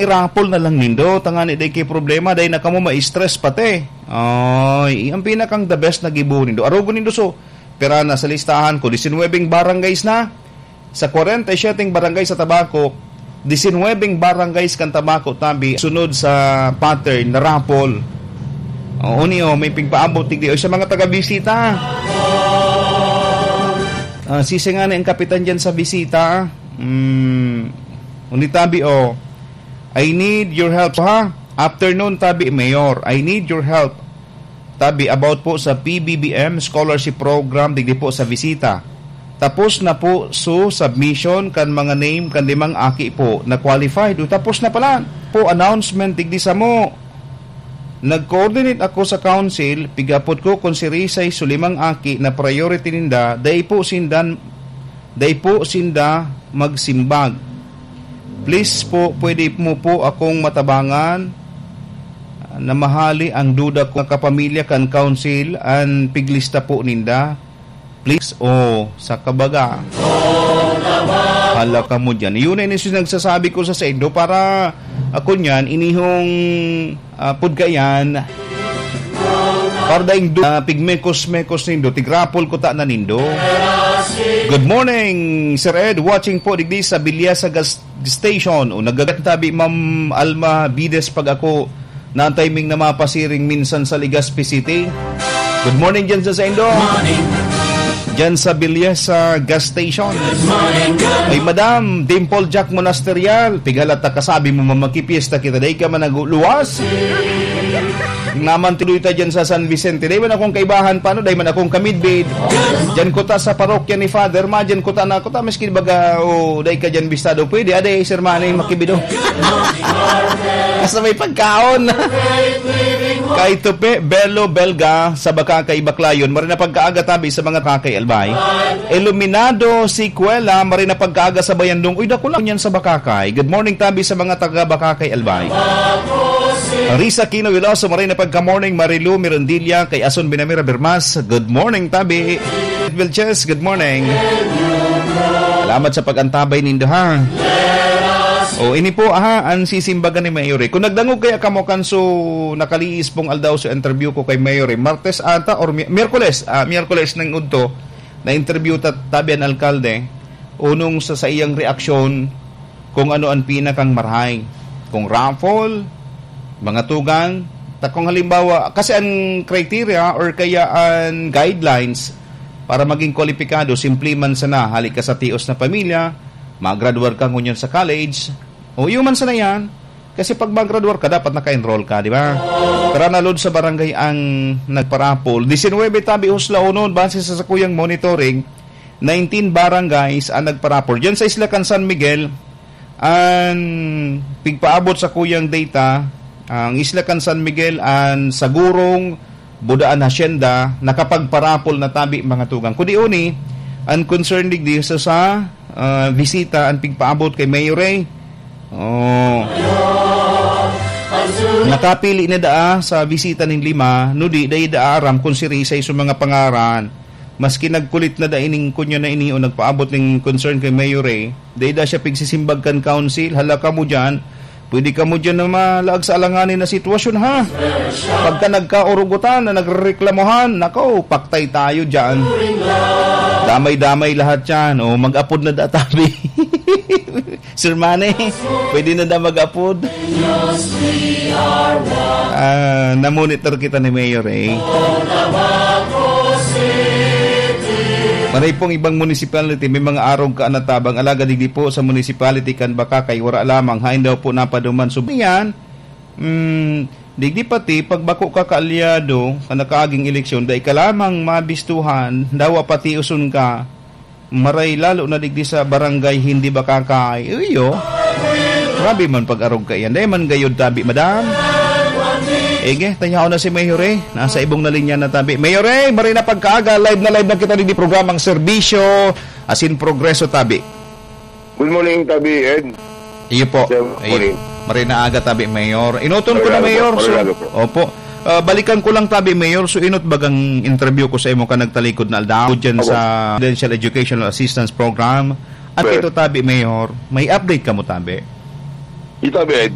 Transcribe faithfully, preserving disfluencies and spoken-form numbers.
i-raffle na lang nindo, tangani dai kay problema, dai na kamo ma-stress pati. Ay, ang pinakang the best na gibo nindo. Arogon nindo, so, pira na sa listahan ko, disinwebeng barangays na. Sa kwarenta y siyete barangay sa Tabaco, disinwebeng barangays kan Tabaco tabi sunod sa pattern na raffle. O, uni, o, may pigpaabot, tigdi, o, sa mga taga-bisita. Ah, sisingani ang kapitan dyan sa bisita. Hmm, uni tabi, o. I need your help, ha? Afternoon, tabi, Mayor. I need your help. Tabi, about po sa P B B M scholarship program, digdi po sa bisita. Tapos na po, so, submission kan mga name kan limang aki po na qualified. O, tapos na pala po, announcement, digdi samo. Nag-coordinate ako sa council, pigapot ko kung si Risay so limang aki na priority ninda, dai po sindan, dai po sinda magsimbag. Please po, pwede mo po akong matabangan na mahali ang duda ko nga kapamilya kan council an piglista po ninda. Please, o, sa kabaga. Hala kamo dyan. Yun na inis yung nagsasabi ko sa saindo para, ako niyan, inihong, ah, pud kaiyan. Para daing du-, ah, pigmekos-mekos nindo, tigrapol ko ta na nindo. Good morning, Sir Ed. Watching po digdi sa Bilyasa Gas Station. O, nagagantabi, Ma'am Alma Bides, pag ako na timing na mapasiring minsan sa Legazpi City. Good morning dyan sa saindo. Morning. Dyan sa Bilyasa Gas Station. Good morning, good Ay, Madam Dimple Jack Monasterial, tigala ta kasabi mo, mamakipiesta kita, dai ka man nagluwas. Naman tuloy ta dyan sa San Vicente. Dai man akong kaibahan, paano? Dai man akong kamidbid. Dyan ko ta sa parokya ni Father, ma, dyan ko ta na, ko ta, miskin baga, o, dai ka dyan bistado. Pwede, aday, Sir Manny, makibido. Hasta may pagkaon. Kay Tupe, Belo, Belga, sa Bacacay, Baclayon, maray na pagkaaga tabi sa mga Bacacay, Albay. Iluminado, Secuela, maray na pagkaaga sa Bayandong. Uy, dako lang yan sa Bacacay. Good morning tabi sa mga taga Bacacay, Albay. Risa Kino Veloso, maray na pagka-morning. Marilu Mirandilla, kay Ason Binamira Bermas, good morning tabi. Vilches, good morning. Salamat sa pag-antabay nindo, ha. O, ini po, ha, ang sisimbagan ni Mayor, eh. Kung nagdangog kaya kamo kan so nakaliis pong aldaw sa interview ko kay Mayor, eh, Martes ata or Mi-, Miyerkules, ah, Miyerkules nang udto, na-interview ta-, tabi an alkalde, unong sa saiyang reaksyon kung ano ang pinakang marahay. Kung raffle, mga tugang, ta kung halimbawa, kasi ang criteria or kaya ang guidelines para maging kwalipikado, simple man sana, hali ka sa tios na pamilya, magradwar ka ngunyan sa college, o iyo man sana yan, kasi pag magradwar ka, dapat naka-enroll ka, di ba? Tara na, Lord, sa barangay ang nagparapol. Disinwebe tabi, Husla, unon, base sa sakuyang monitoring, nineteen barangays ang nagparapol. Diyan sa Isla kan San Miguel, ang pigpaabot sa kuyang data, ang Isla kan San Miguel, ang Sagurong, Budaan Hacienda, nakapagparapol na tabi, mga tugang. Kudi uni, ang concern digdi sa, sa, ah, bisita, ang pigpaabot kay Mayor Ray. Oh. Nakapili na daa sa bisita nin lima, no di, dai daa aram kung si Rizal sa mga pangaran. Maski nagkulit na da ining kunya na ini o nagpaabot ning concern kay Mayor Ray, dai da siya pigsisimbag kan council. Hala kamo diyan, pwede kamo diyan na malaag sa alanganin na sitwasyon, ha? Pagka nagkaurugutan na nagrereklamuhan, nako, paktay tayo diyan. Damay-damay lahat yan. O, mag-apod na da tabi. Sir Manny, pwede na daw mag-apod. Ah, namonitor kita ni Mayor, eh. Maray pong ibang municipality, may mga arog ka na tabang, alagad digdi po sa municipality kan Bacacay, wara lamang, hain daw po napaduman. So, yan, mm, digdi pati, pag bako ka kaalyado, ka nakaaging eleksyon, dai ka lamang mabistuhan, dawa pati uson ka, maray lalo na digdi sa barangay hindi Bacacay. Iyo. Grabe man pag-arog kaiyan. Dai man gayod tabi, madam. Ege, tayaon na si Mayor Ray. Nasa ibong na linya na tabi. Mayor Ray, maray na pagkaaga. Live na live na kita digdi programang Serbisyo, asin Progreso, tabi. Good morning, Tabi Ed. Iyo po. Sir, Iyo. Morning. Maray na aga, tabi, Mayor. Inuton ko Maray na, na aga po. Mayor. Maray So, na aga po. Opo. Ah, balikan ko lang, tabi, Mayor. So, inot bagang interview ko sa imo ka nagtalikod na aldaw dyan Opo. sa Residential Educational Assistance Program. At Sir. Ito, tabi, Mayor, may update ka mo, tabi? Ito, tabi, Ed.